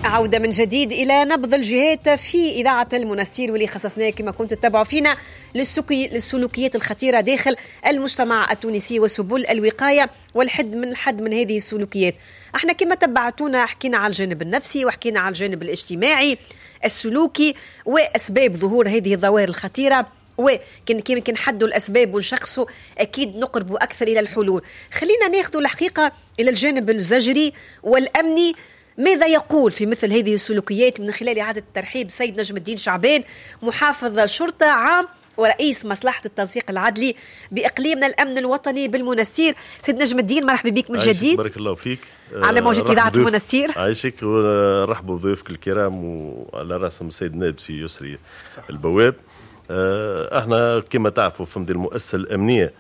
عودة من جديد إلى نبض الجهات في إذاعة المنستير، واللي خصصناه كما كنتم تتابعوا فينا للسلوكيات الخطيرة داخل المجتمع التونسي وسبل الوقاية والحد من الحد من هذه السلوكيات. احنا كما تبعتونا حكينا على الجانب النفسي وحكينا على الجانب الاجتماعي السلوكي وأسباب ظهور هذه الظواهر الخطيرة، وكان كي نحدوا الأسباب ونشخصوا أكيد نقربوا أكثر إلى الحلول. خلينا ناخذ الحقيقة إلى الجانب الزجري والأمني، ماذا يقول في مثل هذه السلوكيات من خلال إعادة الترحيب سيد نجم الدين شعبان، محافظ شرطة عام ورئيس مصلحة التنسيق العدلي بإقليمنا الأمن الوطني بالمنستير. سيد نجم الدين مرحبا بك من جديد. بارك الله فيك. على موجة إذاعة المنستير. عايشك، ونرحبوا بضيوفك الكرام وعلى رأسهم السيد نائب سي يسري البواب. احنا كما تعرفوا فهمت المؤسسة الأمنية،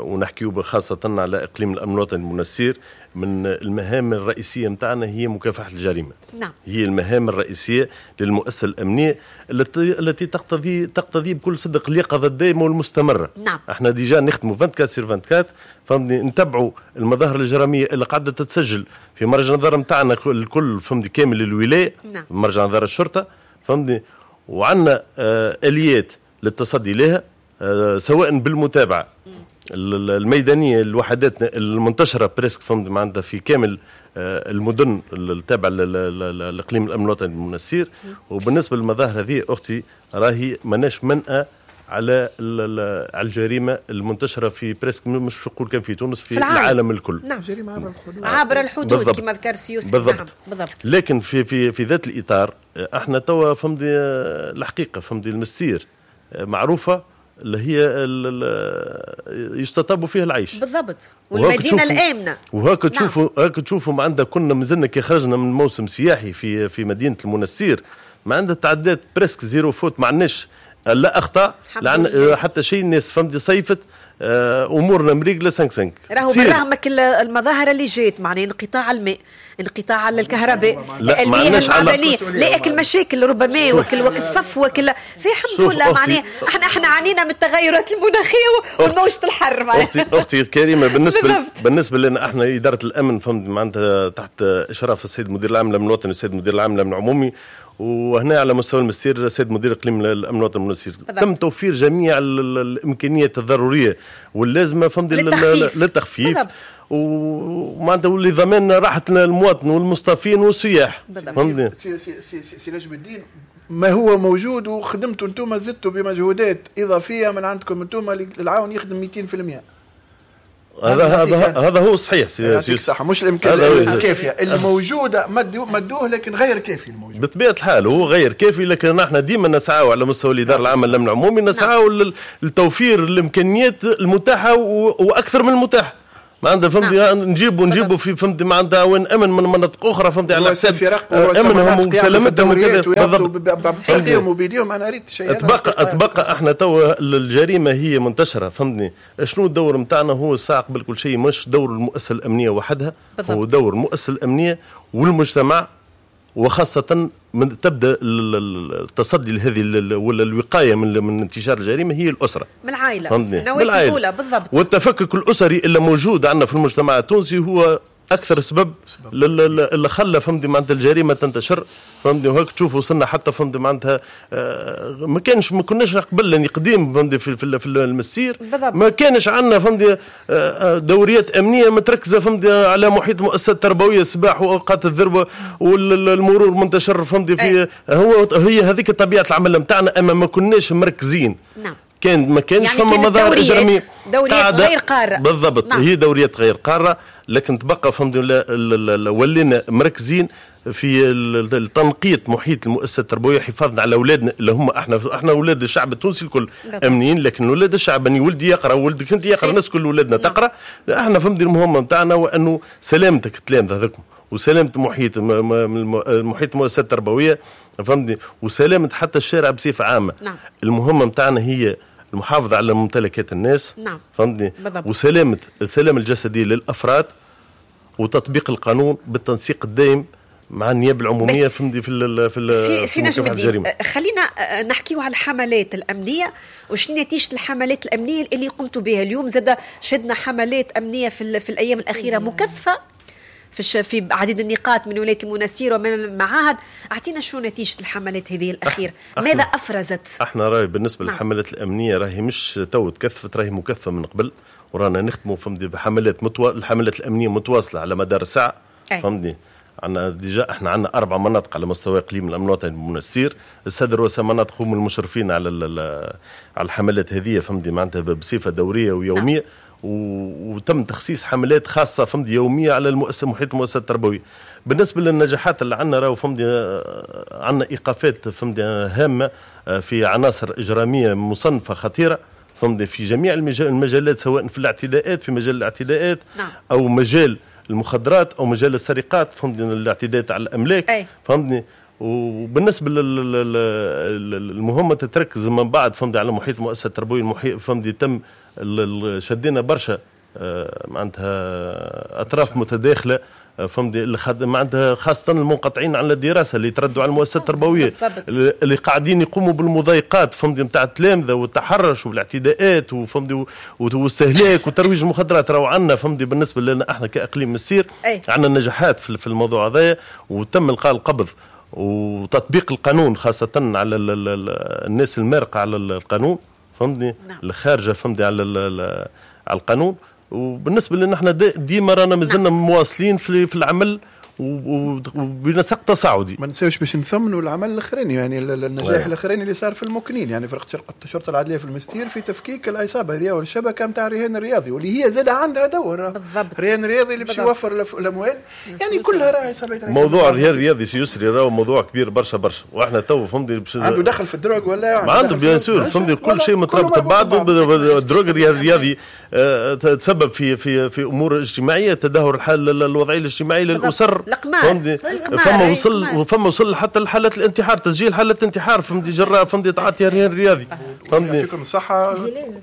ونحكيو خاصة على إقليم الأمن الوطني المنستير، من المهام الرئيسية متاعنا هي مكافحة الجريمة. نعم. هي المهام الرئيسية للمؤسسة الأمنية التي تقتضي بكل صدق اليقظة الدائمة والمستمرة. نعم. احنا déjà نخدموا 24 sur 24، فهمتني، نتبعوا المظاهر الإجرامية اللي قاعدة تتسجل في مرجع نظر متاعنا الكل، فهمتني، كامل الولاية. نعم. مرجع نظر الشرطة، فهمتني، وعندنا آليات للتصدي لها، سواء بالمتابعة الميدانية لوحداتنا المنتشرة presque، فهمت، معناتها في كامل المدن التابعة للاقليم الامن الوطني المنستير. وبالنسبة للمظاهر هذه اختي راهي ماناش منأى على الجريمة المنتشرة في presque، مش نقول كان في تونس، في العالم الكل. نعم. جريمة عبر الحدود. عبر الحدود كما ذكر سي يوسف. بالضبط. نعم. بالضبط. لكن في في في ذات الاطار احنا توا فهمتي الحقيقة، فهمتي، المستير معروفة اللي هي يستطاب فيها العيش. بالضبط، والمدينة الامنة. وهاك تشوفوا، نعم. هاك تشوفوا ما عندها، كنا مازلنا كي خرجنا من موسم سياحي في مدينة المنستير، ما عندها تعدات presque zéro faute، ما عندناش لا اخطاء لا حتى شيء. الناس فهمتي صيفت، امورنا مريقله 5 5. راهو بالرغم المظاهر اللي جات، معناها انقطاع الماء، انقطاع على الكهرباء، المياه المعدنية، لا اكل مشاكل ربما وكل الصف وكل في الحمد لله، معناها احنا عانينا من التغيرات المناخية والموجة الحر. اختي الكريمة، بالنسبة لنا احنا ادارة الامن، فهمت، معناتها تحت اشراف السيد المدير العام للامن الوطني والسيد المدير العام للامن العمومي، وهنا على مستوى المسير السيد مدير اقليم الامن الوطني المنستير، تم توفير جميع الامكانيات الضرورية واللازمه، فهمت، للتخفيف ومعناتها لضمان راحة المواطن والمصطفين والسياح. فهمتني سي نجم الدين، ما هو موجود وخدمتوا انتم، زدتوا بمجهودات اضافية من عندكم انتم، العون يخدم 200%. هذا هو الصحيح سي صح، مش الامكانيات الكافيه الموجودة مدوه، لكن غير كافي الموجود. بطبيعة الحال هو غير كافي، لكن احنا ديما نسعى على مستوى الادارة العامة للامن العمومي، نسعى لتوفير الامكانيات المتاحة واكثر من المتاح. ما عندها، فهمتي، نجيبوا في، فهمتي، ما عندها وين امن من مناطق اخرى، فهمتي، على حساب امنهم وسلامتهم وكذا. بالضبط، وبيديهم. انا ريت شيء. تبقى احنا توا الجريمة هي منتشرة، فهمتني. شنو الدور نتاعنا؟ هو الساعة قبل كل شيء مش دور المؤسسة الامنية وحدها. بالضبط. هو دور المؤسسة الامنية والمجتمع، وخاصة من تبدا التصدي لهذه ولا الوقاية من انتشار الجريمة هي الاسرة، من العائلة، من العائلة. بالضبط. والتفكك الاسري اللي موجود عندنا في المجتمع التونسي هو اكثر سبب اللي خلى، فهمتي، معناتها الجريمة تنتشر، فهمتي. وهيك تشوف وصلنا حتى، فهمتي، معناتها ما كناش قبل يعني قديم، فهمتي، في المسير. بالضبط. ما كانش عندنا، فهمتي، دوريات امنية متركزه، فهمتي، على محيط المؤسسات التربوية، السباح واوقات الذروة والمرور منتشر، فهمتي، في هو هي هذيك طبيعة العمل نتاعنا، اما ما كناش مركزين. نعم. كان ما كانش يعني فما مظاهر اجراميه، دوريات غير قارة. بالضبط. نعم. هي دوريات غير قارة، لكن تبقى، فهمت، ولينا مركزين في التنقيط محيط المؤسسة التربوية، حفاظنا على اولادنا اللي هم احنا اولاد الشعب التونسي الكل امنيين، لكن اولاد الشعب، اني ولدي يقرا ولدك انت يقرا، الناس كل اولادنا تقرا. احنا فهمت المهمة نتاعنا وانه سلامتك التلامذه هذوك، وسلامه محيط المؤسسة التربوية، فهمتني، وسلامه حتى الشارع بصفة عامة. نعم. المهمة نتاعنا هي المحافظة على ممتلكات الناس. نعم. فهمتني، وسلامة السلامة الجسدية للأفراد، وتطبيق القانون بالتنسيق الدائم مع النيابة العمومية، فهمتي، في سي نجم الدين، خلينا نحكيو على الحملات الأمنية وشنو نتيجة الحملات الأمنية اللي قمتوا بها اليوم. زاد شهدنا حملات أمنية في الأيام الأخيرة مكثفة في عديد النقاط من ولاية المنستير ومن المعاهد. اعطينا شو نتيجة الحملات هذه الاخيرة، ماذا افرزت؟ احنا راهي بالنسبة للحملات الامنية راهي مش تو تكثفت، راهي مكثفة من قبل، ورانا نخدموا فهمتي بحملات الحملات الامنية متواصلة على مدار الساعة. فهمتني عندنا déjà احنا عندنا 4 مناطق على مستوى اقليم الامن الوطني المنستير. السادة رؤساء مناطق هم المشرفين على الحملات هذه فهمتي معناتها بصفة دورية ويوميه. وتم تخصيص حملات خاصة فهمتي يومية على المؤسسة محيط المؤسسة التربوية. بالنسبة للنجاحات اللي عندنا راهو فهمتي عندنا ايقافات فهمتي هامة في عناصر اجراميه مصنفه خطيرة فهمتي في جميع المجالات، سواء في الاعتداءات في مجال الاعتداءات او مجال المخدرات او مجال السرقات فهمتني الاعتداءات على الاملاك. فهمتني وبالنسبة للمهمه تتركز من بعد فهمتني على محيط المؤسسة التربوية المحيط فهمتني تم شدينا برشا معناتها اطراف متداخلة فهمتني معناتها خاصة المنقطعين عن الدراسة اللي يتردوا على المؤسسة التربوية اللي قاعدين يقوموا بالمضايقات فهمتني نتاع التلامذه والتحرش والاعتداءات وفهمتني واستهلاك وترويج المخدرات. راهو عندنا فهمتني بالنسبة لنا احنا كاقليم المسير عندنا نجاحات في الموضوع هذايا، وتم القاء القبض وتطبيق القانون خاصة على الناس المارقه على القانون فهمتني الخارجة فهمتني على القانون. وبالنسبة لنا احنا ديما رانا مازلنا مواصلين في العمل وبنسق تصاعدي. ما ننساوش باش نثمنوا العمل الاخراني، يعني النجاح الاخراني اللي صار في المكنين، يعني فرقه الشرطة العدليه في المستير في تفكيك العصابة هذه والشبكة نتاع الرهان الرياضي، واللي هي زاد عندها دور. بالضبط. الرهان الرياضي اللي باش يوفر الاموال، يعني كلها راهي عصابات. موضوع الرهان الرياضي سي يسري راهو موضوع كبير برشا برشا، واحنا تو فهمتي عنده دخل في ال drogue ولا عنده bien sûr فهمتي كل شيء مترابط ببعضه. ال drogue الرياضي تسبب في في في امور اجتماعية، تدهور الحال الوضعية الاجتماعية للاسر. فما وصل وفما وصل حتى لحالات الانتحار، تسجيل حالات انتحار فهمتي جراء فهمتي تعاطي الرهان الرياضي فهمتني. يعطيكم الصحة.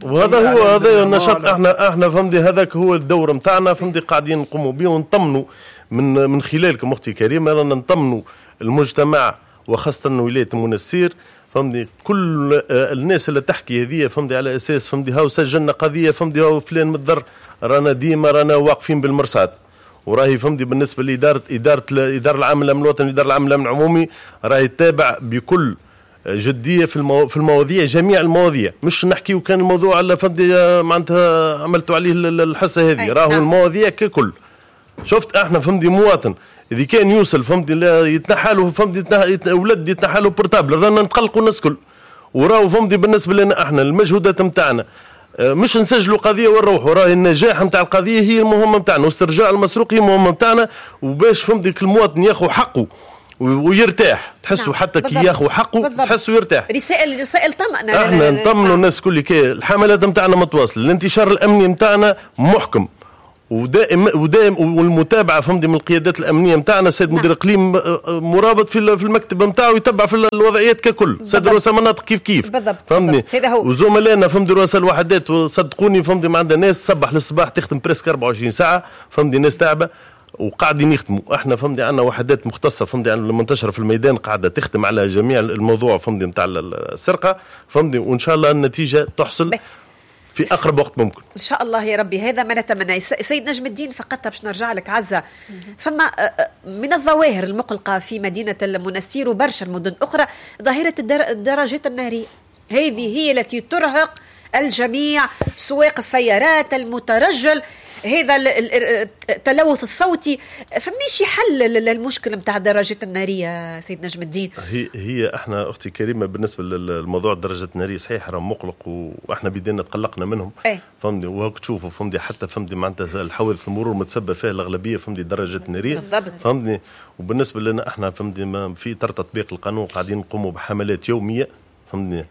وهذا هو هذا النشاط احنا فهمتي هذاك هو الدور نتاعنا فهمتي قاعدين نقوموا به ونطمنوا من خلالكم اختي كريمة، رانا نطمنوا المجتمع وخاصة ولاية المنستير فهمتني. كل الناس اللي تحكي هذه فهمتني على اساس فهمتني هاو سجلنا قضية فهمتني هاو فلان متضر، رانا ديما رانا واقفين بالمرصاد. وراهي فهمتني بالنسبة لادارة ادارة الادارة العامة للامن الوطني الادارة العامة للامن العمومي راهي تتابع بكل جدية في المواضيع، جميع المواضيع، مش نحكيو كان الموضوع على فهمتني معناتها عملتوا عليه الحصة هذه، راهو المواضيع ككل. شفت احنا فهمتني مواطن اذا كان يوصل فهمتني يتنحى له فهمتني ولد يتنحى له portable رانا نتقلقوا الناس الكل. وراهو فهمتني بالنسبة لنا احنا المجهودات نتاعنا مش نسجلوا قضية ونروحوا، راهي النجاح نتاع القضية هي المهمة نتاعنا، واسترجاع المسروق هي المهمة نتاعنا، وباش فهمتني المواطن ياخذ حقه ويرتاح. تحسوا نعم. حتى كي ياخذ حقه تحسوا يرتاح. رسائل طمأنة، احنا نطمنوا الناس كل كي الحملات نتاعنا متواصلة، الانتشار الامني نتاعنا محكم ودائم والمتابعة فهمتي من القيادات الامنية نتاعنا. السيد مدير الاقليم مرابط في المكتب نتاعو يتبع في الوضعيات ككل، سيد رؤساء مناطق كيف كيف بالضبط فهمتني. هذا هو. وزملائنا فهمتي رؤساء الوحدات وصدقوني فهمتي ما عندنا ناس صبح للصباح تخدم presque 24 ساعة فهمتي، ناس تعبه وقاعدين يخدموا. احنا فهمتي عندنا وحدات مختصة فهمتي المنتشرة في الميدان قاعدة تخدم على جميع الموضوع فهمتي نتاع السرقة فهمتي، وان شاء الله النتيجة تحصل في أقرب وقت ممكن إن شاء الله يا ربي. هذا ما نتمنى. سيد نجم الدين فقط باش نرجع لك عزة، فما من الظواهر المقلقة في مدينة المنستير وبرشا المدن أخرى ظاهرة الدراجات النارية، هذه هي التي ترهق الجميع، سواق السيارات، المترجل، هذا التلوث الصوتي. فماشي حل للمشكلة نتاع الدراجات النارية سيد نجم الدين؟ هي احنا اختي كريمة بالنسبة للموضوع الدراجات النارية صحيح راه مقلق، واحنا بدينا تقلقنا منهم فهمتني. وهاك تشوفوا فهمتني حتى فهمتني معناتها الحوادث المرور متسبب فيها الاغلبية فهمتني الدراجات النارية بالضبط فهمتني. وبالنسبة لنا احنا فهمتني في اطار تطبيق القانون قاعدين نقوموا بحملات يومية فهمتني.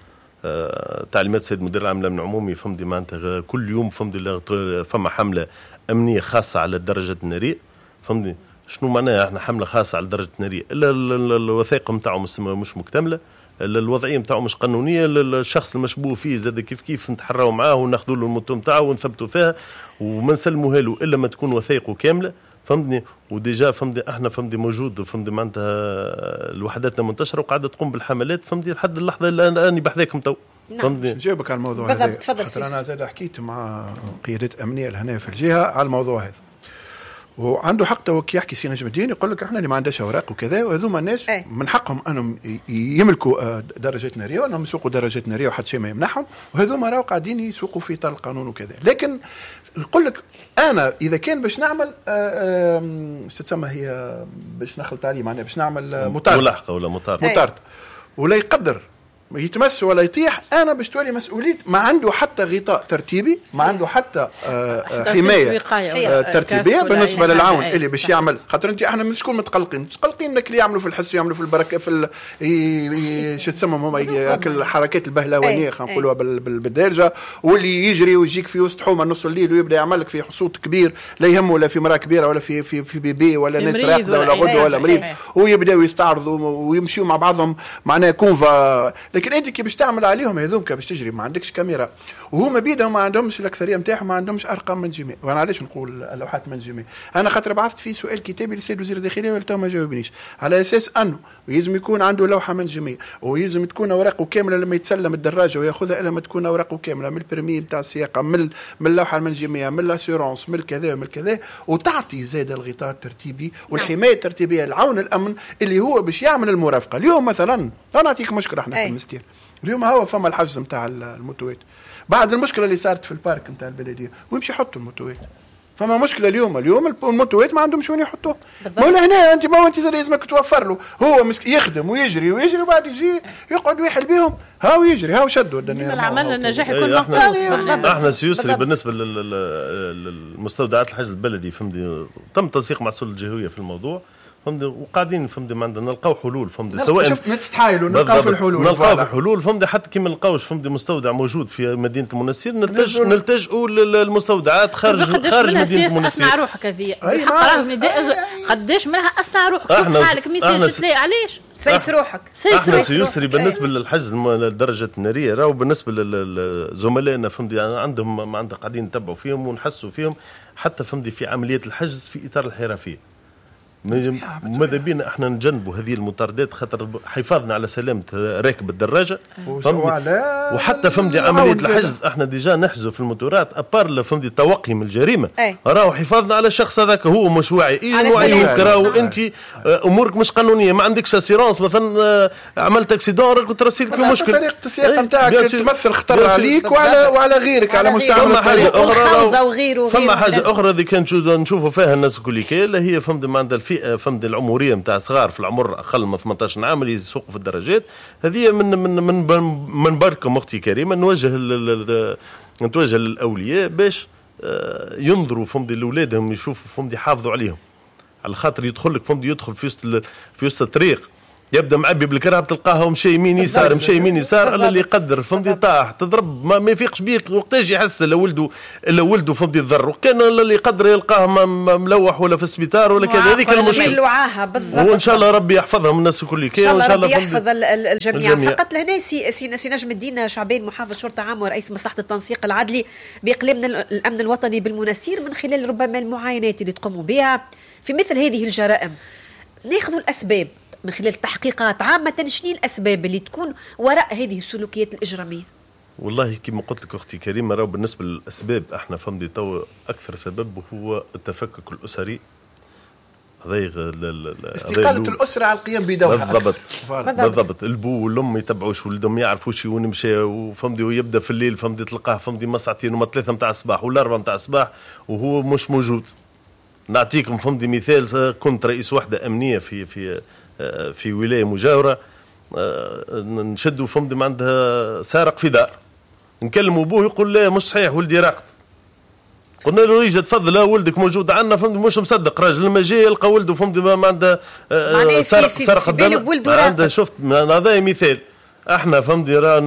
تعليمات السيد مدير العام للامن العمومي فهمتني معناتها كل يوم فهمتني فما حمله امنية خاصة على الدراجات النارية فهمتني. شنو معناها احنا حمله خاصة على الدراجات النارية؟ الا الوثائق نتاعو مش مكتملة، الوضعية نتاعو مش قانونية، الشخص المشبوه فيه زاد كيف كيف نتحراو معاه وناخذوا له ال moto نتاعو ونثبتوا فيها وما نسلموها له الا ما تكون وثائقه كاملة فهمتني. و déjà فهمتني احنا فهمتني موجود فهمتني معناتها الوحدات المنتشرة وقاعدة تقوم بالحملات فهمتني لحد اللحظة اللي انا بحذاكم تو. فهمتني. نجاوبك على الموضوع هذا بالضبط. تفضل. انا زاد حكيت مع قيادات امنية لهنا في الجهة على الموضوع هذا، وعنده حق تو كي يحكي سي نجم الدين يقول لك احنا اللي ما عندناش اوراق وكذا، وهذوما الناس من حقهم انهم يملكوا درجات نارية وانهم يسوقوا درجات نارية وحتى شيء ما يمنعهم، وهذوما راهو قاعدين يسوقوا في اطار القانون وكذا. لكن يقول لك انا اذا كان باش نعمل شو تسمى هي باش نخلط عليه، معناها باش نعمل مطاردة، ملاحقه ولا مطاردة، ولا يقدر يتمس ولا يطيح، انا باش تولي مسؤولية. ما عنده حتى غطاء ترتيبي، ما عنده حتى حماية ترتيبيه بالنسبة للعون اللي باش يعمل. خاطر انت احنا من شكون متقلقين؟ متقلقين انك اللي يعملوا في الحس، يعملوا في البركة، في شو تسمى هما الحركات البهلوانيه خلينا نقولوها بالدارجة، واللي يجري ويجيك في وسط حومه نص الليل ويبدا يعمل لك في صوت كبير لا يهمه لا في مراة كبيرة ولا في في في bébé ولا ناس راقده ولا غدوه ولا مريض، ويبداو يستعرضوا ويمشيوا مع بعضهم معناها convoi. لكن انت كي باش تعمل عليهم هذوك باش تجري ما عندكش كاميرا، وهما بيدهم ما عندهمش، الاكثرية نتاعهم ما عندهمش ارقام منجميه. وانا علاش نقول اللوحات منجميه؟ انا خاطر بعثت في سؤال كتابي للسيد وزير الداخلية ولتو ما جاوبنيش، على اساس انه يلزم يكون عنده لوحة منجميه ويلزم تكون اوراقه كاملة لما يتسلم الدراجة وياخذها، الا ما تكون اوراقه كاملة من ال permis نتاع السياقه، من اللوحة المنجميه، من l'assurance، من الكذا ومن الكذا، وتعطي زاد الغطاء الترتيبي والحماية الترتيبية لعون الامن اللي هو باش يعمل المرافقة. اليوم مثلا انا نعطيك مشكلة احنا في المستير اليوم، هو فما الحجز نتاع الموتوات بعد المشكلة اللي صارت في ال parc نتاع البلدية، ويمشي يحطوا الموتوات. فما مشكلة اليوم الموتوات ما عندهمش وين يحطوه. ما هنا انت ما انت لازمك توفر له، هو يخدم ويجري ويجري وبعد يجي يقعد ويحل بهم، هاو يجري هاو شدوا الدنيا. العمل النجاح يكون مقصود. احنا سيسري بالنسبة للمستودعات الحجز البلدي فهمتي، تم تنسيق مع السلطة الجهوية في الموضوع فهمتي، وقاعدين فهمتي ما عندنا نلقاو حلول فهمتي، سواء نتحايلوا نلقاو في الحلول، نلقاو في الحلول فهمتي. حتى كي ما نلقاوش فهمتي مستودع موجود في مدينة المنستير نلتجئوا للمستودعات خارج مدينة المنستير. اصنع روحك هذه قداش منها اصنع روحك، شوف حالك message تلاقي علاش سيس روحك. احنا سيسري بالنسبة للحجز للدرجة النارية راهو بالنسبة لزملائنا فهمتي عندهم ما عندهم قاعدين نتبعوا فيهم ونحسوا فيهم حتى فهمتي في عملية الحجز في اطار الحرفية. ماذا بينا احنا نجنبوا هذه المطاردات خاطر حفاظنا على سلامه راكب الدراجة وحتى فهمتي عملية الحجز احنا déjà نحجزوا في الموتورات à part فهمتي التوقي من الجريمة، راهو حفاظنا على الشخص هذاك هو مش واعي، ايه واعي راهو انت امورك مش قانونية، ما عندكش assurance مثلا، عملت accident راك ترسيلك في مشكل، طريقه السياقه نتاعك تمثل خطر عليك وعلى غيرك على مستعمل الطريق وغيره. فما حاجة اخرى اللي كان نشوفوا فيها الناس الكل اللي هي فهمتي ما عندها الفئة فهمت العمرية نتاع صغار في العمر اقل من 18 عام اللي يسوقوا في الدراجات هذه. من من من من بركم اختي كريمة نتوجه للاولياء باش ينظروا فهمت لاولادهم، يشوفوا فهمت يحافظوا عليهم، على خاطر يدخل لك فهمت يدخل في وسط الطريق يبدا معبي بالكرهب تلقاه مشى يمين يسار مشى يمين يسار، الا اللي يقدر فهمتي طاح تضرب ما يفيقش بيك وقتاش يحس الا ولده فهمتي تضر، وكان اللي يقدر يلقاه ملوح ولا في السبيطار ولا كذا. هذيك المشكلة وان شاء الله ربي يحفظهم الناس الكل، ان شاء الله ربي يحفظ الجميع. فقط لهنا سي نجم الدين شعبان محافظ شرطه عام ورئيس مصلحة التنسيق العدلي باقليم الامن الوطني بالمنستير، من خلال ربما المعاينات اللي تقوموا بها في مثل هذه الجرائم ناخذ الاسباب من خلال التحقيقات عامة، شنو الأسباب اللي تكون وراء هذه السلوكيات الإجرامية؟ والله كما قلت لك أختي كريمة، راهو بالنسبة للأسباب احنا فهمتي تو أكثر سبب هو التفكك الأسري، استقالة الأسرة على القيام بدورها. بالضبط بالضبط، البو والأم يتبعوش ولدهم، يعرفوش وين مشى وفهمتي، ويبدا في الليل فهمتي تلقاه فهمتي ما ساعتين وما 3 متاع الصباح ولا 4 متاع الصباح وهو مش موجود. نعطيكم فهمتي مثال، كنت رئيس وحدة أمنية في في في ولاية مجاوره، نشدوا فهمتي ما عندها سارق في دار، نكلموا ابوه يقول لا مش صحيح ولدي راقد. قلنا له يجي تفضل ولدك موجود عندنا، فهمتي مش مصدق راجل لما جاي يلقى ولده فهمتي ما عنده سرق الدم عنده. شفت هذا مثال احنا فهمتي راه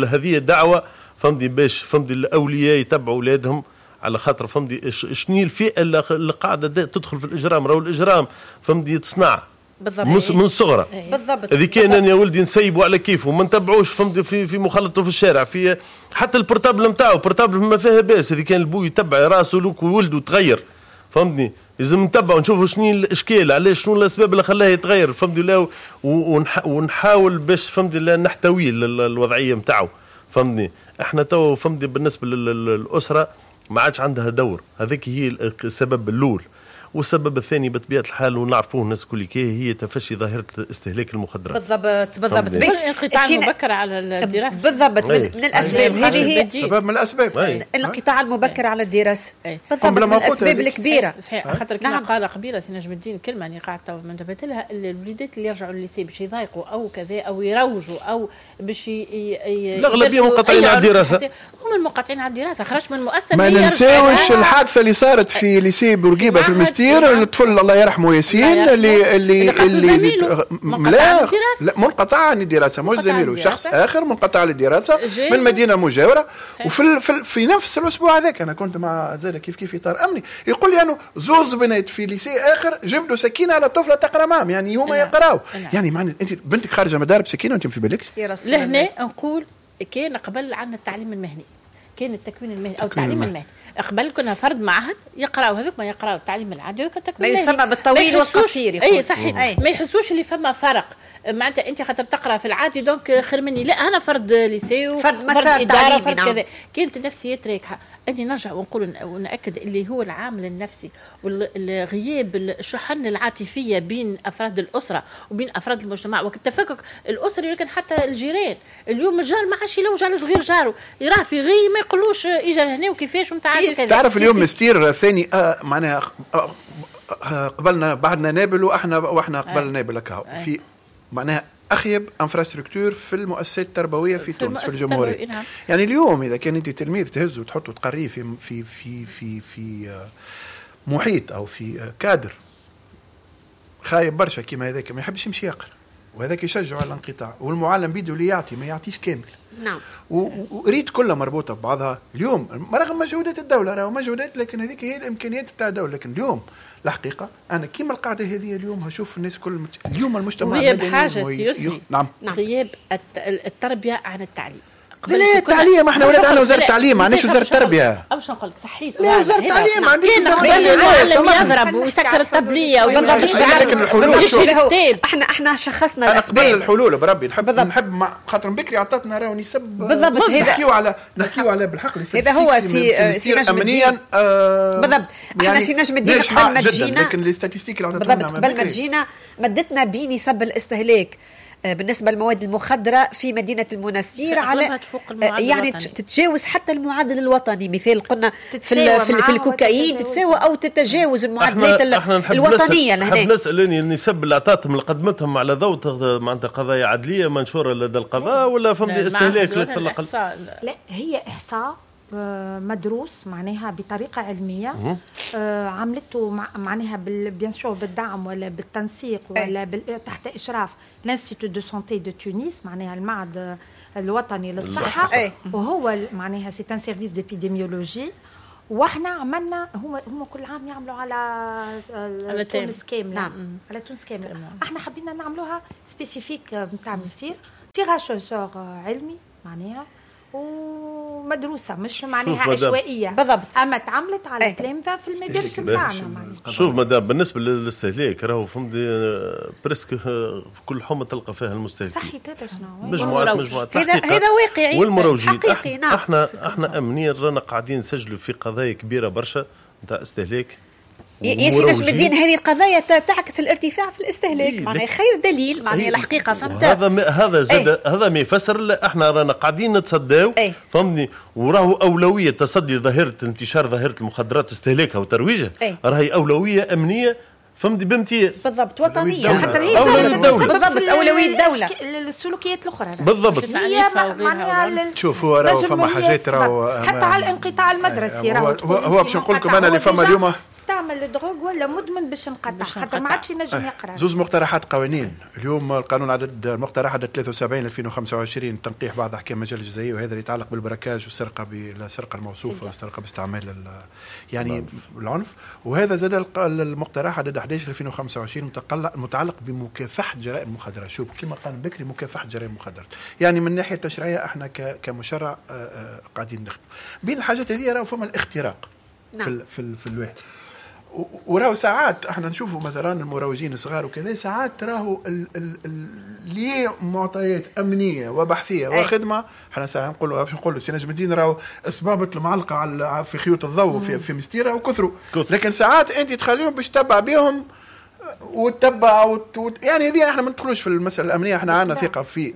هذه الدعوة فهمتي باش فهمتي الاولياء يتبعوا اولادهم على خاطر فهمتي شنو الفئة اللي قاعدة تدخل في الاجرام. راهو الاجرام فهمتي يتصنع بالضبط من الصغرى. بالضبط. اذا كان انا يا ولدي نسيبه على كيفه وما نتبعوش فهمتي في مخالطته في الشارع، في حتى ال portable نتاعو portable ما فيها باس، اذا كان البو يتبع راسه لوك وولده تغير فهمتني، لازم نتبعوا نشوفوا شنو الاشكال، علاش شنو الاسباب اللي خلاه يتغير فهمتي، لا ونحاول باش فهمتي لا نحتوي الوضعية نتاعو فهمتني. احنا تو فهمتي بالنسبة للاسرة ما عادش عندها دور، هذيك هي السبب الاول. والسبب الثاني بطبيعة الحال ونعرفوه الناس الكل هي تفشي ظاهره استهلاك المخدرات. بالضبط بالضبط. الانقطاع المبكر على الدراسة. بالضبط، من الاسباب هذه هي سبب من الاسباب الانقطاع المبكر على الدراسة. بالضبط، من الاسباب الكبيرة. صحيح، خاطر كما قال قبيلة سي نجم الدين كلمة اللي قعدت ما انتبهت لها، الوليدات اللي يرجعوا للل lycée باش يضايقوا او كذا او يروجوا او باش الاغلبية منقطعين على الدراسة، هم المنقطعين على الدراسة خرجت من المؤسسة. ما ننساوش الحادثة اللي صارت في lycée بورقيبة في المستير، الطفل الله يرحمه ياسين اللي اللي اللي لا لا منقطع عن الدراسة، مش زميله، شخص اخر منقطع عن الدراسة من مدينة مجاوره. وفي في نفس الاسبوع هذاك انا كنت مع زاد كيف كيف اطار امني، يقول لي انه زوز بنات في lycée اخر جبدوا سكينة على طفله تقرا معهم، يعني هما يقراو. يعني معنى انت بنتك خارجه من دار بسكينة وانت في بالك. لهنا نقول كان قبل عندنا التعليم المهني، كان التكوين المهني او التعليم المهني قبل، كنا فرد معهد يقراو هذوك ما يقراو التعليم العادي والتكوين المهني، ما يسمى بالطويل والقصير. اي صحيح، ما يحسوش اللي فما فرق، معناتها انت خاطر تقرا في العادي donc خير مني، لا انا فرد lycée فرد مسار تعليمي، فرد كذا. كانت النفسيات راكحه. اني نرجع ونقول ونأكد اللي هو العامل النفسي والغياب الشحن العاطفية بين افراد الاسرة وبين افراد المجتمع والتفكك الاسري، ولكن حتى الجيران اليوم الجار ما عادش يلوج على صغير جاره، يراه في غي ما يقولوش اجا لهنا وكيفاش ونتعالج كذا. تعرف اليوم مستير ثاني معناها قبلنا بعدنا نابل واحنا قبل نابل هكا في معناها اخيب infrastructure في المؤسسات التربوية في تونس في الجمهورية. نعم. يعني اليوم اذا كان انت تلميذ تهزه وتحطه تقريه في في في في في محيط او في كادر خايب برشا كيما هذاك، ما يحبش يمشي يقرا، وهذاك يشجعه على الانقطاع، والمعلم بيده اللي يعطي ما يعطيش كامل. نعم. وريت كلها مربوطة ببعضها اليوم رغم مجهودات الدولة، راهو مجهودات، لكن هذيك هي الامكانيات بتاع الدولة. لكن اليوم الحقيقة انا كيما القاعدة هذه اليوم هشوف الناس كل اليوم المجتمع غياب حاجة سي نعم. غياب التربية عن التعليم. لا التعليم احنا ولاد عندنا وزارة التعليم، ما عندناش وزارة التربية. باش نقول لك صحيت، لا وزارة التعليم ما عندناش وزارة التربية. يضرب ويسكر الطبلية لكن الحلول احنا شخصنا الاسباب. قبل الحلول بربي نحب خاطر بكري عطاتنا راهو نسب بالضبط. نحكيو على بالحق هذا هو سي نجم الدين. بالضبط، احنا سي نجم الدين قبل ما تجينا، لكن les statistiques اللي عطاتنا قبل ما تجينا مدتنا بنسب الاستهلاك بالنسبة للمواد المخدرة في مدينة المنستير على يعني تتجاوز حتى المعدل الوطني. مثال قلنا في الكوكايين تتساوى أو تتجاوز المعدلات الوطنية. نحب نسأل النسب اللي أعطتهم اللي قدمتهم على ضوء معناتها قضايا عدلية منشورة لدى القضاء ولا فهمت استهلاك لا, لا هي إحصاء مدروس معناها بطريقة علمية، عملته معناها bien sûr بالدعم ولا بالتنسيق ولا تحت إشراف l'Institut de santé de Tunis، معناها المعهد الوطني للصحة، وهو معناها c'est un service d'épidémiologie. واحنا عملنا هما كل عام يعملوا على تونس كاملة. نعم. على تونس كاملة. احنا حبينا نعملوها spécifique نتاع مستير tirage au sort علمي معناها ومدروسه، مش معناها عشوائية. بالضبط. اما تعملت على تلامذه في المدارس نتاعنا. شوف مدام بالنسبة للاستهلاك راهو فهمت presque كل حومه تلقى فيها المستهلك. صحيح هذا شنو مجموعات هذا واقعي والمروجين حقيقي. نعم. احنا امنيا رانا قاعدين نسجلوا في قضايا كبيرة برشا نتاع استهلاك. يا سي نجم الدين هذه القضايا تعكس الارتفاع في الاستهلاك، معناها خير دليل، معناها الحقيقة فهمت. هذا زاد هذا ما يفسر احنا رانا قاعدين نتصداو فهمتني، وراهو اولوية تصدي ظاهره انتشار ظاهره المخدرات واستهلاكها وترويجها راهي اولوية امنية فهمتي بامتياز. بالضبط، وطنية حتى هي بالضبط اولوية الدولة. السلوكيات الاخرى بالضبط معناها شوف هو راهو فما حاجات راهو حتى على الانقطاع المدرسي راهو هو باش نقول لكم انا اللي فما اليوم استعمل drogue ولا مدمن باش نقطع حتى ما عادش ينجم يقرا. زوز مقترحات قوانين اليوم، القانون عدد المقترح عدد 73 2025 تنقيح بعض احكام المجلة الجزائيه، وهذا اللي يتعلق بال braquage والسرقة بالسرقة الموصوفه والسرقة باستعمال يعني العنف. وهذا زاد المقترح عدد 11 2025 متعلق بمكافحة جرائم المخدرات. شوف كما قال بكري مكافحة جرائم المخدرات، يعني من الناحية التشريعية احنا كمشرع قاعدين نخدم بين الحاجات هذه. راهو فما الاختراق. نعم. في الواحد، وراهو ساعات احنا نشوفوا مثلا المروجين الصغار وكذا، ساعات راهو لمعطيات امنية وبحثيه وخدمه. احنا ساعة نقولوا باش نقولوا سي نجم الدين راهو اصبابه المعلقة على في خيوط الضوء في مستيره وكثروا، لكن ساعات انت تخليهم باش تتبع بهم وتتبع يعني هذه احنا ما ندخلوش في المسالة الامنية، احنا عندنا ثقة في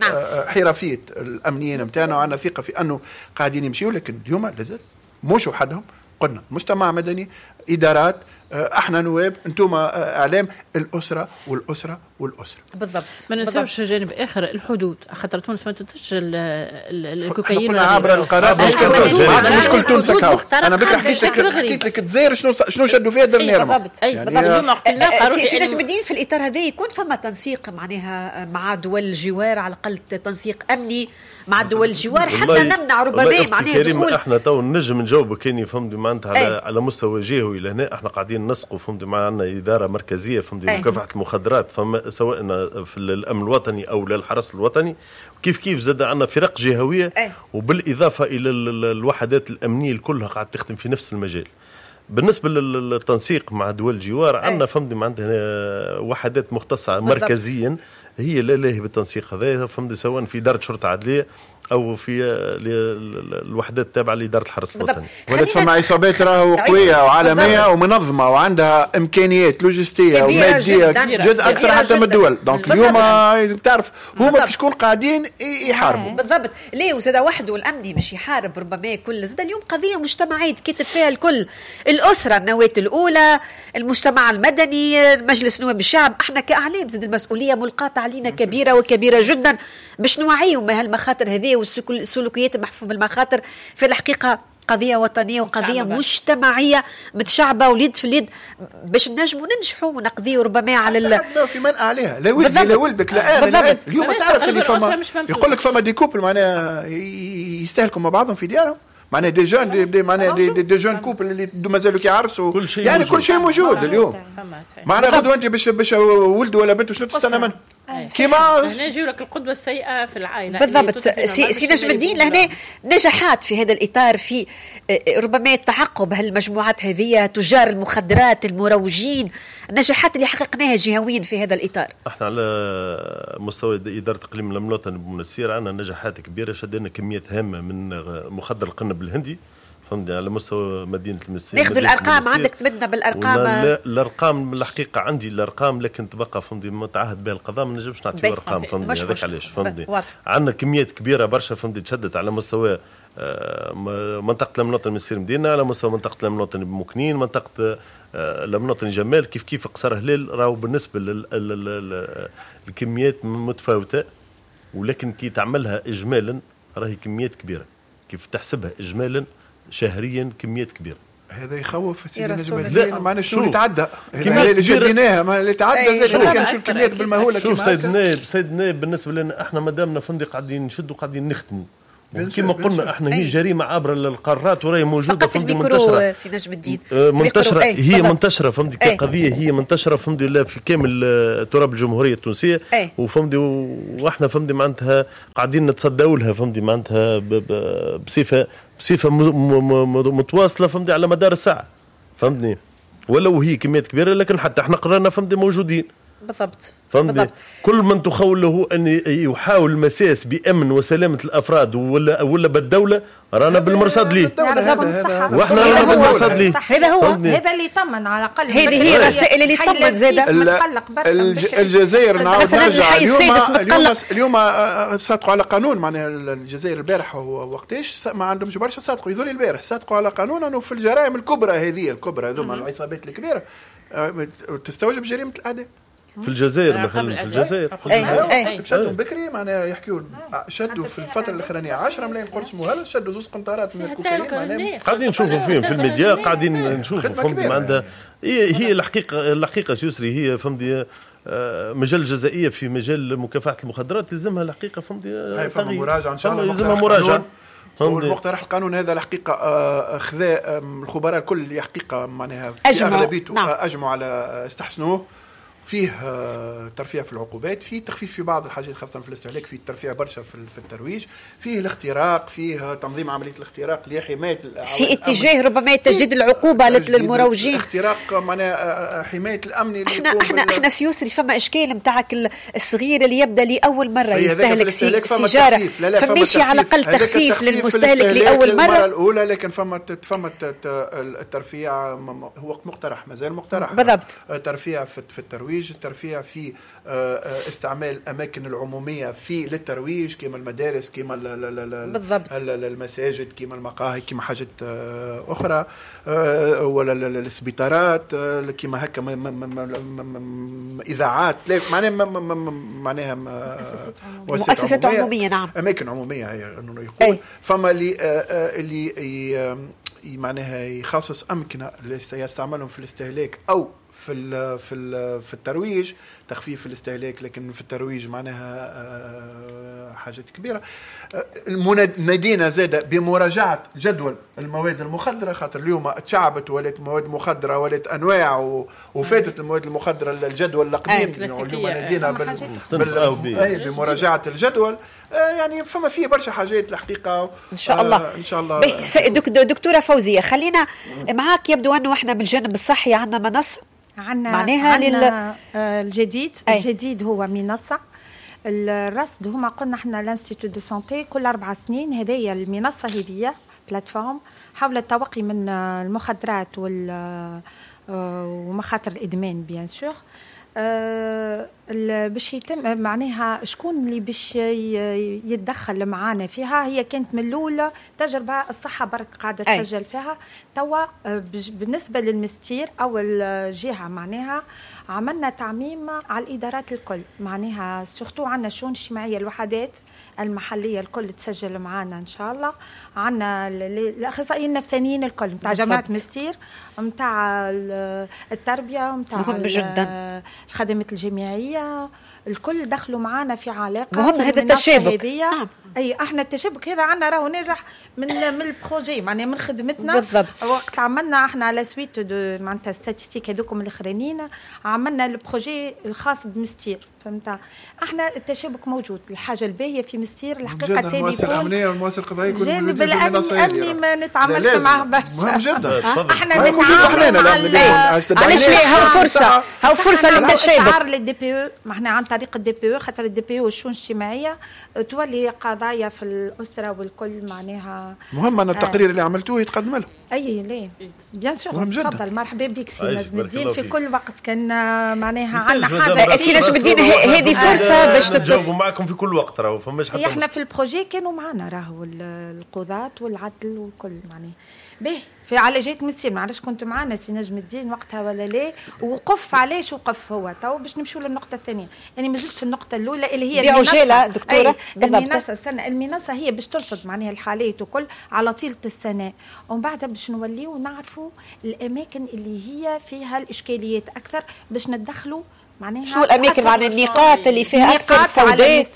حرفية الامنيين نتاعنا، وعندنا ثقة في انه قاعدين يمشيوا، لكن اليوم لازم مش وحدهم. قلنا مجتمع مدني، ادارات، احنا نواب، انتم اعلام، الاسرة والاسرة والاسرة. بالضبط. ما ننساوش جانب اخر، الحدود، خاطر تونس ما تنتجش الكوكايين عبر القارات. مش كل تونس. انا بكره حكيت لك الجزائر شنو شدوا فيها dernièrement. بالضبط. بالضبط. سي نجم الدين، في الاطار هذا يكون فما تنسيق معناها مع دول الجوار، على الاقل تنسيق امني مع دول الجوار حتى نمنع ربما معناها دخول. احنا تو نجم نجاوبك كان فهمت معناتها على مستوى جهوي. لهنا احنا قاعدين نسقوا فهمت، معنا ادارة مركزية فهمت مكافحة المخدرات، فما سواء في الامن الوطني او للحرس الوطني، كيف كيف زاد عندنا فرق جهويه، وبالاضافة الى الوحدات الامنية كلها قاعدة تخدم في نفس المجال. بالنسبة للتنسيق مع دول الجوار عندنا فهمت عندنا وحدات مختصة مركزيا هي لا لاهي بالتنسيق هذا، فهمت، سواء في ادارة شرطه عدليه او في الوحدات التابعة لادارة الحرس الوطني. ولات فما عصابات راهو قوية وعالميه ومنظمة وعندها امكانيات لوجستية وماديه جد اكثر حتى من الدول. donc اليوم لازم تعرف هما في شكون قاعدين يحاربوا. بالضبط. ليه وزاد وحده الامني مش يحارب ربما كل، زاد اليوم قضية مجتمعية تكتب فيها الكل، الاسرة النواة الاولى، المجتمع المدني، مجلس نواب الشعب، احنا كاعلام زاد المسؤولية ملقاة علينا كبيرة وكبيره جدا باش نوعيهم ما هالمخاطر هذه والسلوكيات المحفوفة بالمخاطر. في الحقيقة قضية وطنية وقضية مجتمعية متشعبة واليد في اليد باش نجموا ننجحوا ونقضيوا ربما على في منع عليها. لا ولدي لا ولدك لا انا. اليوم تعرف اللي فما يقول لك فما des couples معناها يستهلكوا مع بعضهم في ديارهم، معناها des jeunes des معناها des jeunes couples اللي مازالوا كيعرسوا، يعني كل شيء موجود اليوم. معناها غدوه انت باش ولد ولا بنت شنو تستنى منه؟ كيما هنا يجيو لك القدوة السيئة في العائلة. بالضبط. سي نجم الدين، لهنا نجاحات في هذا الاطار في ربما التعقب هالمجموعات هذه، تجار المخدرات، المروجين، النجاحات اللي حققناها جهويا في هذا الاطار. احنا على مستوى ادارة اقليم الامن الوطني بمنستير عندنا نجاحات كبيرة، شدينا كميات هامة من مخدر القنب الهندي فهمتني على مستوى مدينة المسير. ناخذ الارقام عندك، تمدنا بالارقام. الارقام الحقيقة عندي الارقام، لكن تبقى فهمتني متعهد بها القضاء، ما نجمش نعطيو ارقام فهمتني. هذاك علاش فهمتني عندنا كميات كبيرة برشا فهمتني تشدت على مستوى منطقة الامن الوطني المسير مدينة، على مستوى منطقة الامن الوطني بمكنين، منطقة الامن الوطني جمال، كيف كيف قصر هلال. راهو بالنسبة للكميات متفاوتة، ولكن كي تعملها اجمالا راهي كميات كبيرة، كيف تحسبها اجمالا شهريا كميات كبيرة. هذا يخوف سيدي نجم الدين، معناها شنو اللي تعدى اللي جديناها، ما اللي تعدى زاد كان شو الكميات بالمهوله. شوف سيد النائب، سيد النائب بالنسبة لنا احنا مادامنا فندق قاعدين نشدوا قاعدين نخدموا، كما قلنا احنا هي جريمة عابرة للقارات وراهي موجودة فهمتي منتشرة. سي نجم الدين منتشرة، هي منتشرة فهمتي كقضية، هي منتشرة فهمتي لا في كامل تراب الجمهورية التونسية، وفهمتي واحنا فهمتي معناتها قاعدين نتصداو لها فهمتي معناتها بصفة متواصلة فهمتي على مدار الساعة فهمتني، ولو هي كميات كبيرة لكن حتى احنا قرانا فهمتي موجودين. بالضبط. فهمتني كل من تخول له ان يحاول المساس بامن وسلامه الافراد ولا بالدولة رانا بالمرصد ليه، واحنا رانا بالمرصد ليه. هذا هو هذا اللي يطمن على الاقل، هذه هي الرسائل اللي تطمن زاده. الجزائر نعاود نرجع اليوم صادقوا على قانون، معناها الجزائر البارح وقتاش ما عندهمش برشا صادقوا، يظل البارح صادقوا على قانون انه في الجرائم الكبرى هذه الكبرى هذوما العصابات الكبيرة تستوجب جريمة الاعدام. في الجزائر مثلا، في الجزائر شدوا بكري معناها يحكيوا شدوا في الفترة الاخرانية 10 ملايين قرص مهلس، شدوا زوج قنطارات من الكوكايين. قاعدين نشوفوا فيهم في الميديا، قاعدين نشوفوا فهمتي معناتها هي الحقيقة سيسري هي فهمتي مجال الجزائيه في مجال مكافحة المخدرات لازمها الحقيقة فهمتي مراجعه ان شاء الله، لازمها مراجعه. والمقترح القانون هذا الحقيقة خذا الخبراء الكل الحقيقة معناها في اغلبيته اجمعوا على استحسنوه. فيه ترفيع في العقوبات، فيه تخفيف في بعض الحاجات خاصة في الاستهلاك، فيه ترفيع برشا في الترويج، فيه الاختراق، فيه تنظيم عملية الاختراق لحماية، في اتجاه ربما تجديد العقوبة للمروجين، الاختراق معناها حماية الأمن. احنا سيوسري فما إشكال نتاعك الصغير اللي يبدا لأول مرة يستهلك سيجارة، فماشي على الأقل تخفيف للمستهلك لأول مرة الأولى، لكن فما الترفيع هو مقترح، مازال مقترح بالضبط، ترفيع في الترويج، الترفيع في استعمال الأماكن العمومية في للترويج كما المدارس، كما المساجد، كما المقاهي، كما حاجات أخرى، ولا السبيطارات، كما هكا إذاعات، معناها مؤسسات عمومية. نعم، أماكن عمومية هي إنه يقول. فما اللي معناها يخصص أمكنة اللي يستعملهم في الاستهلاك أو في ال في ال في الترويج، تخفيف الاستهلاك، لكن في الترويج معناها حاجات كبيرة. نادينا زاده بمراجعه جدول المواد المخدره، خاطر اليوم تشعبت ولات مواد مخدره ولات انواع وفاتت المواد المخدره الجدول القديم. اليوم نادينا بمراجعه الجدول، يعني فما فيه برشا حاجات الحقيقة. ان شاء الله ان شاء الله. دكتورة فوزيه، خلينا معاك. يبدو انه احنا بالجانب الصحي عندنا منصة، عندنا الجديد. الجديد هو منصة الرصد. هما قلنا احنا l'institut de santé كل 4 سنين، هذه المنصة هذه plateforme حول التوقي من المخدرات ومخاطر الادمان bien sûr. باش يتم معناها شكون اللي باش يتدخل معانا فيها. هي كانت من الاولى تجربه الصحة برك قاعدة تسجل فيها. توا بالنسبة للمستير اول جهة معناها عملنا تعميم على الادارات الكل، معناها surtout عندنا الشؤون الاجتماعية، الوحدات المحلية الكل تسجل معانا ان شاء الله. عندنا الاخصائيين النفسانيين الكل نتاع جامعه مستير، نتاع التربية، نتاع الخدمات الجامعية، الكل دخلوا معانا في علاقة. مهم هذا التشابك. اي احنا التشابك هذا عندنا راهو ناجح من ال projet، معناها من خدمتنا بالضبط. وقت عملنا احنا à la suite de معناتها statistiques هذوكم الاخرانيين، عملنا ال projet الخاص بمستير، فهمت؟ احنا التشابك موجود. الحاجة الباهيه في مستير الحقيقة التليفون الامنية والمؤسسة القضائية يكون الجانب الامني ما نتعاملش معاه برشا، مهم جدا. احنا نتعامل علاش لا، هاو فرصة، هاو فرصة للتشابك. لل DPE، ما احنا عن طريق ال DPE، خاطر ال DPE والشؤون الاجتماعية تولي قضايا في الاسرة والكل معناها. مهم ان التقرير اللي عملتوه يتقدم له. اي ليه bien sûr، تفضل مرحبا بك سي نجم الدين في كل وقت. كان معناها عندنا حاجة سي نجم الدين، هذه فرصة باش نجاوبوا معكم في كل وقت، راهو فماش حتى احنا في ال projet كانوا معنا راهو القضاة والعدل والكل معناها. به في على جهة مسير، ما عرفتش كنت معنا سي نجم الدين وقتها ولا لا. وقف علاش وقف هو تو باش نمشوا للنقطة الثانية. يعني مازلت في النقطة الاولى اللي هي المنصة دكتورة. المنصة السنة، المنصة هي باش ترصد معناها الحالات وكل على طيلة السنة، ومن بعدها باش نوليو نعرفوا الاماكن اللي هي فيها الاشكاليات اكثر باش ندخلوا معناها شنو الاماكن، معناها النقاط اللي فيها اكثر سوداء.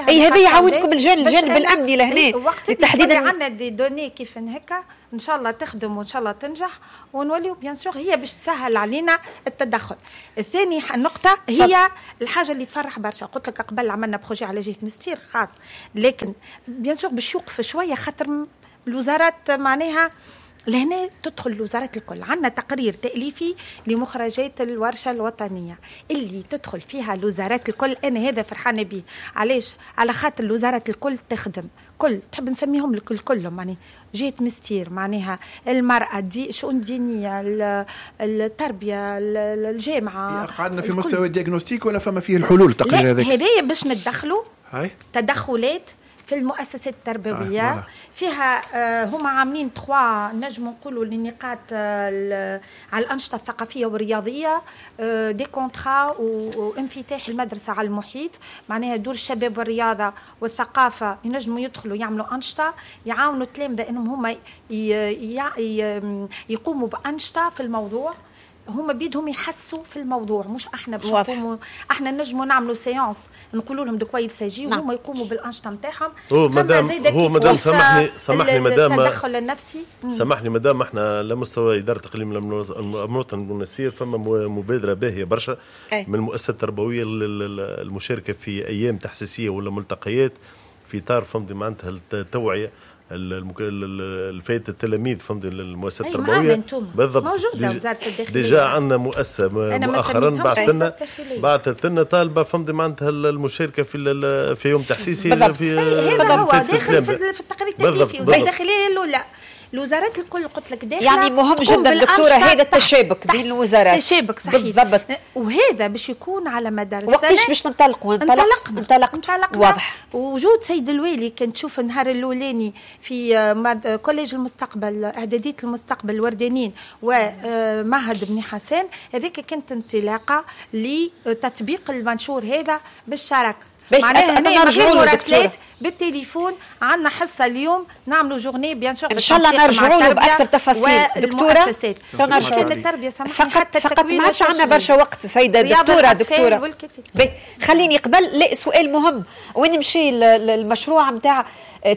اي هذا يعاونكم الجانب الامني لهنا تحديدا. عندنا des données كيف هكا ان شاء الله تخدم وان شاء الله تنجح ونوليو bien sûr هي باش تسهل علينا التدخل. الثاني النقطة هي الحاجة اللي تفرح برشا، قلت لك قبل عملنا projet على جهة مستير خاص، لكن bien sûr باش يوقف شوية خاطر الوزارات معناها لهنا تدخل الوزارات الكل. عندنا تقرير تأليفي لمخرجات الورشة الوطنية اللي تدخل فيها الوزارات الكل. أنا هذا فرحانة به. علاش؟ على خاطر الوزارات الكل تخدم كل، تحب نسميهم الكل كلهم، يعني جهة مستير معناها المرأة، دي شؤون دينية، التربية، الجامعة. قعدنا في مستوى ال diagnostic ولا فما فيه الحلول التقرير هذاك؟ هذايا باش ندخلوا تدخلات في المؤسسات التربوية. فيها هما عاملين 3 نجم نقولوا للنقاط على الأنشطة الثقافية والرياضية، des contrats وانفتاح المدرسة على المحيط، معناها دور الشباب والرياضة والثقافة ينجموا يدخلوا يعملوا أنشطة، يعاونوا التلامذة أنهم هما يقوموا بأنشطة في الموضوع. هما بيدهم يحسوا في الموضوع، مش احنا باش نقوموا. احنا نجموا نعملوا séance نقولوا لهم de quoi il s'agit، وهما يقوموا بالانشطه نتاعهم. هو مدام، هو مدام، سامحني مدام، التدخل النفسي. سامحني مدام، احنا على مستوى ادارة اقليم الوطني المنستير فما مبادرة باهيه برشا من المؤسسة التربوية المشاركة في ايام تحسيسيه ولا ملتقيات في اطار فهمتي معناتها التوعية الفائدة التلاميذ، فهمت، المؤسسات التربويه. بالضبط، موجودة وزارة الداخليه. déjà عندنا مؤسسة مؤخرا بعثت لنا طالبه، فهمت، معناتها المشاركة في يوم تحسيسي. في هذا هو داخل في التقرير التكليفي، وزارة الداخلية الاولى، الوزارات الكل قلت لك داخله. يعني مهم جدا دكتورة هذا التشابك بين الوزارات. تشابك، صحيح، بالضبط. وهذا باش يكون على مدار السنه. وقتاش باش ننطلقوا؟ انطلقنا. انطلقنا، واضح. وجود سيد الوالي كان تشوف النهار الاولاني في collège المستقبل، اعدادية المستقبل الوردانين ومعهد بن حسان، هذيك كانت انطلاقة لتطبيق المنشور هذا بالشراكه. معناها هنا مراسلات بالتليفون، عندنا حصة اليوم نعملوا journée bien sûr. ان شاء الله نرجعوا له باكثر تفاصيل دكتوره. نرجعوا التربيه. فقط ما عادش عندنا برشا وقت سيده دكتوره. دكتورة خليني قبل، لا، سؤال مهم، وين مشي المشروع نتاع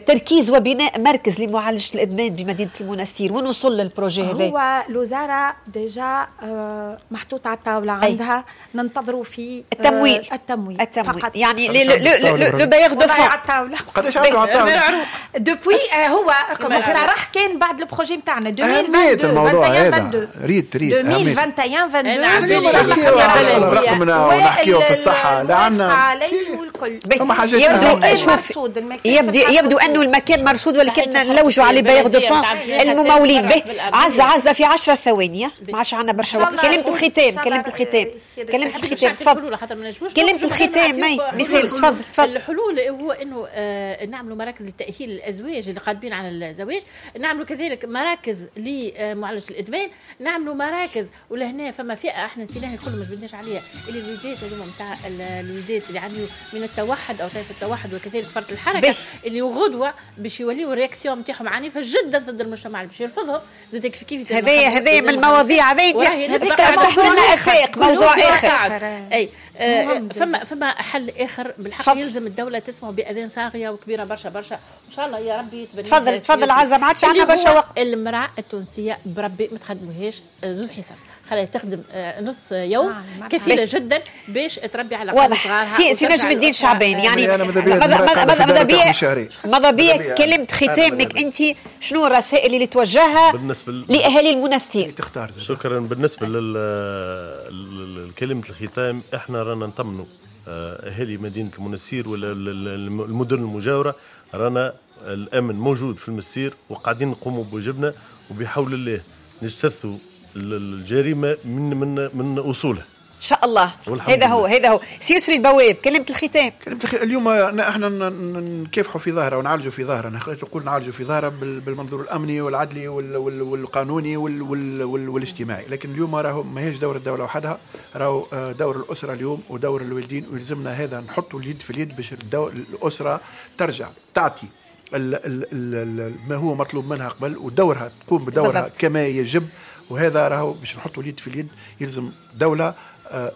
تركيز وبناء مركز لمعالجة الادمان بمدينة المنستير؟ وين وصل ال projet هذا؟ هو الوزارة déjà محطوط على الطاوله، عندها، ننتظروا في التمويل. التمويل، التمويل فقط. يعني le bailleur de fonds. على الطاوله. قداش عنده على الطاوله؟ depuis هو مقترح كان بعد ال projet نتاعنا 2022. الموضوع هذا ريت ريت 2021 22. رقمنا ونحكيو في الصحه، لا عندنا والكل. فما حاجات. يبدو، شوف، يبدو انه المكان مرصود ولكن نلوجوا على bailleurs de fonds الممولين به. عزه عزه، في 10 ثواني، ما عادش عندنا برشا وقت، كلمة الختام، كلمة الختام، كلمة الختام، تفضل، كلمة الختام. ما يسالش، تفضل تفضل. الحلول هو انه نعملوا مراكز لتاهيل الازواج اللي قادمين على الزواج، نعملوا كذلك مراكز لمعالجة الادمان، نعملوا مراكز. ولهنا فما فئة احنا نسيناها الكل ما جبدناش عليها، اللي الوليدات هذوما نتاع الوليدات اللي يعانيوا من التوحد او طيف التوحد وكذلك فرط الحركه، اللي غدوه باش يوليو ال réaction نتاعهم عنيفة جدا ضد المجتمع اللي باش يرفضهم زاد كيف كيف. هذايا من المواضيع هذه فتحت لنا افاق موضوع اخر. اي فما حل اخر بالحق يلزم الدولة تسمع باذان صاغيه وكبيره برشا برشا، ان شاء الله يا ربي يتبنى. تفضل تفضل عزه، ما عادش عندنا برشا وقت. المراة التونسية بربي ما تخدموهاش زوز حصص، خليها تخدم نص يوم كفيله جدا باش تربي على واضح. سي نجم الدين شعبان، يعني ماذا بيا كلمة ختامك انت، شنو الرسائل اللي توجهها لاهالي المنستير؟ شكرا. بالنسبة لكلمة الختام، احنا رانا نطمنوا اهالي مدينة المنستير ولا المدن المجاوره، رانا الامن موجود في المستير وقاعدين نقوموا بواجبنا، وبحول الله نجتثوا الجريمة من اصولها ان شاء الله. هذا هو، هذا هو. سي يسري البواب، كلمة الختام. كلمة الختام، اليوم احنا نكافحوا في ظاهره ونعالجوا في ظاهره، نقول نعالجوا في ظاهره بالمنظور الامني والعدلي والقانوني والاجتماعي، لكن اليوم راهو ماهيش دور الدولة وحدها، راهو دور الاسرة اليوم ودور الوالدين، ويلزمنا هذا نحطوا اليد في اليد باش الاسرة ترجع تعطي ال ال ال ما هو مطلوب منها قبل، ودورها تقوم بدورها بالضبط كما يجب. وهذا راهو باش نحطوا اليد في اليد يلزم دولة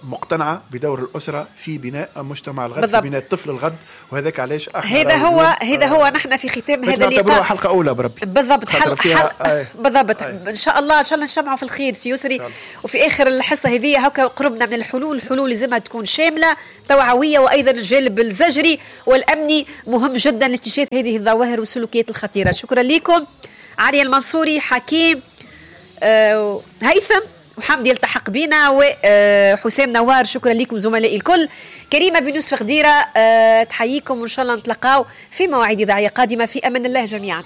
مقتنعة بدور الأسرة في بناء مجتمع الغد، بالضبط، في بناء الطفل الغد. وهذاك علاش احنا هذا هو، هذا هو. نحن في ختام هذا اللقاء حلقة أولى بربي. بالضبط، حلقة بالضبط. ان شاء الله، ان شاء الله نجتمعوا في الخير سي يسري. وفي آخر الحصة هذه هكا قربنا من الحلول، الحلول لازمها تكون شاملة توعوية، وأيضا الجانب الزجري والأمني مهم جدا لاكتشاف هذه الظواهر والسلوكيات الخطيرة. شكرا لكم علي المنصوري، حكيم، هيثم وحمدي يلتحق بنا، وحسام نوار. شكرا لكم زملائي الكل. كريمة بن يوسف غديرة تحييكم، وإن شاء الله نتلقاو في مواعيد إذاعية قادمة. في أمان الله جميعا.